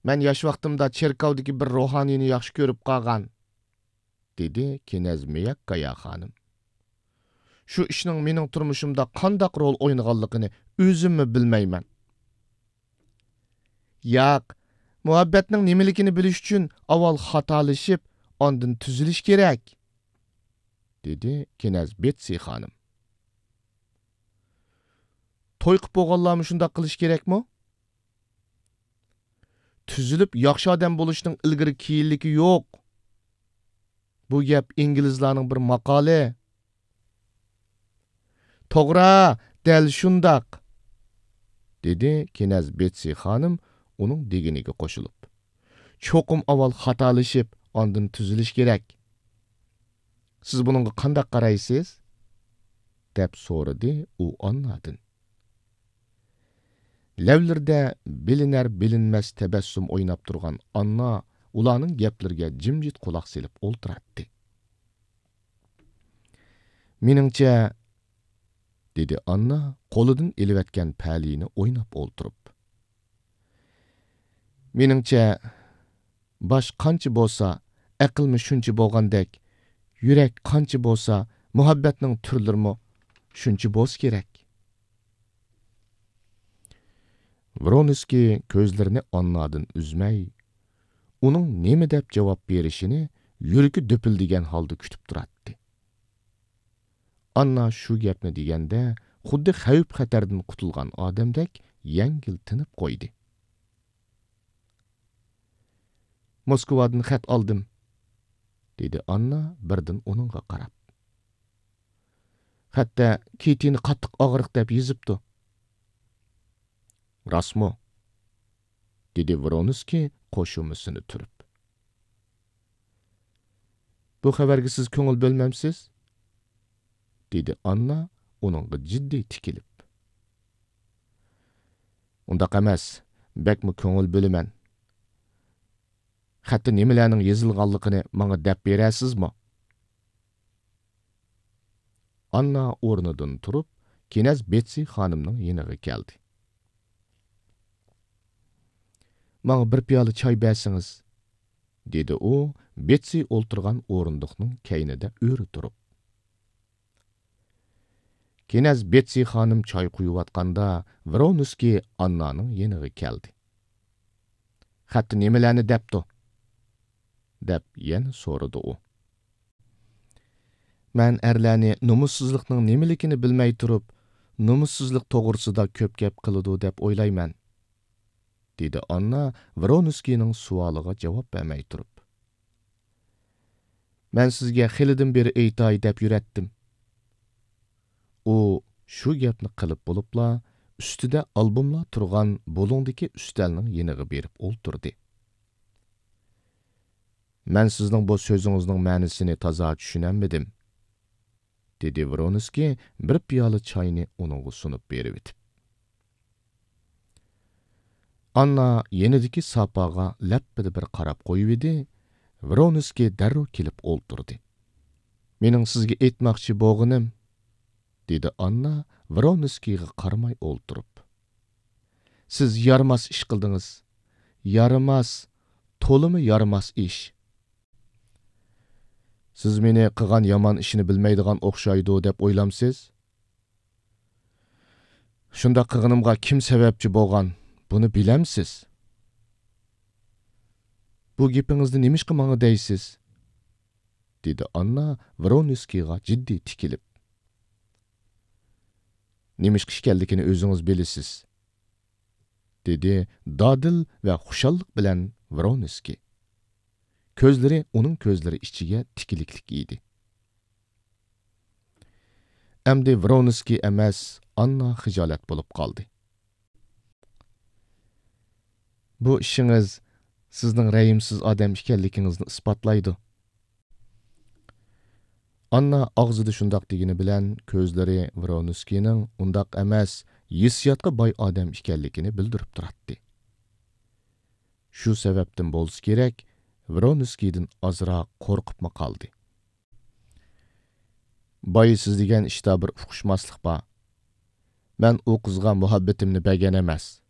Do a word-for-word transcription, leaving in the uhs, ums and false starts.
مەن ياش ۋاقتىمدا چېركاۋدىكى بىر روھانىينى ياخشى كۆرۈپ قالغان، دېدى كېنەز مىياككايا خانىم. شۇ ئىشنىڭ مېنىڭ تۇرمۇشۇمدا قانداق رول ئوينىغانلىقىنى ئۆزۈممۇ بىلمەيمەن. ياق، مۇھەببەتنىڭ نېمىلىكىنى بىلىش ئۈچۈن ئاۋۋال خاتالىشىپ، ئاندىن تۈزىلىش كېرەك، دېدى كېنەز بېتسى خانىم. توي قىپ بولغانلارمۇ شۇنداق قىلىش كېرەكمۇ؟ تۈزۈلۈپ ياخشى ئادەم بولۇشنىڭ ئىلگىرى كېيىنلىكى يوق. بۇ گەپ ئىنگلىزلارنىڭ بىر ماقالى. توغرا، دەل شۇنداق، دېدى كېنەز بېتسى خانىم ئۇنىڭ دېگىنىگە قوشۇلۇپ. چوقۇم ئاۋۋال خاتالىشىپ، ئاندىن تۈزىلىش كېرەك. سىز بۇنىڭغا قانداق قارايسىز؟ دەپ سورىدى ئۇ ئاننادىن. لەۋلىرىدە بىلىنەر-بىلىنمەس تەبەسسۇم ئويناپ تۇرغان ئاننا ئۇلارنىڭ گەپلىرىگە جىمجىت قۇلاق سېلىپ ئولتۇراتتى. مېنىڭچە، دېدى ئاننا قولىدىن ئېلىۋەتكەن پەلىيىنى ئويناپ ئولتۇرۇپ. مېنىڭچە، باش قانچە بولسا، ئەقىلمۇ شۇنچە بولغاندەك، يۈرەك قانچە بولسا، مۇھەببەتنىڭ تۈرلىرىمۇ شۇنچە بولسا كېرەك. ۋرونسكىي كۆزلىرىنى ئاننادىن ئۈزمەي، ئۇنىڭ نېمە دەپ جاۋاب بېرىشىنى يۈرىكى دۈپۈلدىگەن ھالدا كۈتۈپ تۇراتتى. ئاننا شۇ گەپنى دېگەندە، خۇددى خەۋپ-خەتەردىن قۇتۇلغان ئادەمدەك يەڭگىل تىنىپ قويدى. موسكۋادىن خەت ئالدىم، دېدى ئاننا بىردىن ئۇنىڭغا قاراپ. خەتتە كىتىنى قاتتىق ئاغرىق دەپ يېزىپتۇ. راستمۇ؟ دېدى ۋرونسكىي قوشۇمىسىنى تۈرۈپ. بۇ خەۋەرگە سىز كۆڭۈل بۆلمەمسىز؟ دېدى ئاننا ئۇنىڭغا جىددىي تىكىلىپ. ئۇنداق ئەمەس، بەكمۇ كۆڭۈل بۆلىمەن. خەتتە نېمىلەرنىڭ يېزىلغانلىقىنى ماڭا دەپ بېرەرسىزمۇ؟ ئاننا ئورنىدىن تۇرۇپ، كېنەز بېتسى خانىمنىڭ يېنىغا كەلدى. ماڭا بىر پىيالە چاي بەرسىڭىز، دېدى ئۇ بېتسى ئولتۇرغان ئورۇندۇقنىڭ كەينىدە ئۆرە تۇرۇپ. كېنەز بېتسى خانىم چاي قۇيۇۋاتقاندا، ۋرونسكىي ئاننانىڭ يېنىغا كەلدى. خەتتە نېمىلەرنى دەپتۇ؟ دەپ يەنە سورىدى ئۇ. مەن ئەرلەرنى نومۇسسىزلىقنىڭ نېمىلىكىنى بىلمەي تۇرۇپ، نومۇسسىزلىق توغرىسىدا كۆپ گەپ قىلىدۇ دەپ ئويلايمەن، دېدى ئاننا ۋرونسكىينىڭ سوئالىغا جاۋاب بەرمەي تۇرۇپ. مەن سىزگە خېلىدىن بېرى ئېيتاي دەپ يۈرەتتىم. ئۇ شۇ گەپنى قىلىپ بولۇپلا، ئۈستىدە ئالبوملار تۇرغان بۇلۇڭدىكى ئۈستەلنىڭ يېنىغا بېرىپ ئولتۇردى. مەن سىزنىڭ بۇ سۆزىڭىزنىڭ مەنىسىنى تازا چۈشىنەلمىدىم، دېدى ۋرونسكىي بىر پىيالە چاينى ئۇنىڭغا سۇنۇپ بېرىۋېتىپ. ئاننا يېنىدىكى ساپاغا لەپپىدە بىر قاراپ قويۇۋىدى، ۋرونسكىي دەررۇ كېلىپ ئولتۇردى. مېنىڭ سىزگە ئېيتماقچى بولغىنىم، دېدى ئاننا ۋرونسكىيغا قارىماي ئولتۇرۇپ. سىز يارىماس ئىش قىلدىڭىز. يارىماس، تولىمۇ يارىماس ئىش. سىز مېنى قىلغان يامان ئىشنى بىلمەيدىغان ئوخشايدۇ دەپ ئويلامسىز؟ شۇنداق قىلغىنىمغا كىم سەۋەبچى بولغان، بۇنى بىلەمسىز؟ بۇ گېپىڭىزنى نېمىشقا ماڭا دەيسىز؟ دېدى ئاننا ۋرونسكىيغا جىددىي تىكىلىپ. نېمىشقا ئىكەنلىكىنى ئۆزىڭىز بىلىسىز، دېدى دادىل ۋە خۇشاللىق بىلەن ۋرونسكىي. كۆزلىرى ئۇنىڭ كۆزلىرى ئىچىگە تىكىلىكلىك ئىدى. ئەمدى ۋرونسكىي ئەمەس، ئاننا خىجالەت بولۇپ قالدى. بۇ ئىشىڭىز سىزنىڭ رەھىمسىز ئادەم ئىكەنلىكىڭىزنى ئىسپاتلايدۇ. ئاننا ئاغزىدا شۇنداق دېگىنى بىلەن، كۆزلىرى ۋرونسكىينىڭ ئۇنداق ئەمەس، ھېسسىياتقا باي ئادەم ئىكەنلىكىنى بىلدۈرۈپ تۇراتتى. شۇ سەۋەبتىن بولسا كېرەك، ۋرونسكىيدىن ئازراق قورقۇپمۇ قالدى. بايا سىز دېگەن ئىشتا بىر ئۇقۇشماسلىق بار. مەن ئۇ قىزغا مۇھەببىتىمنى بەرگەن ئەمەس.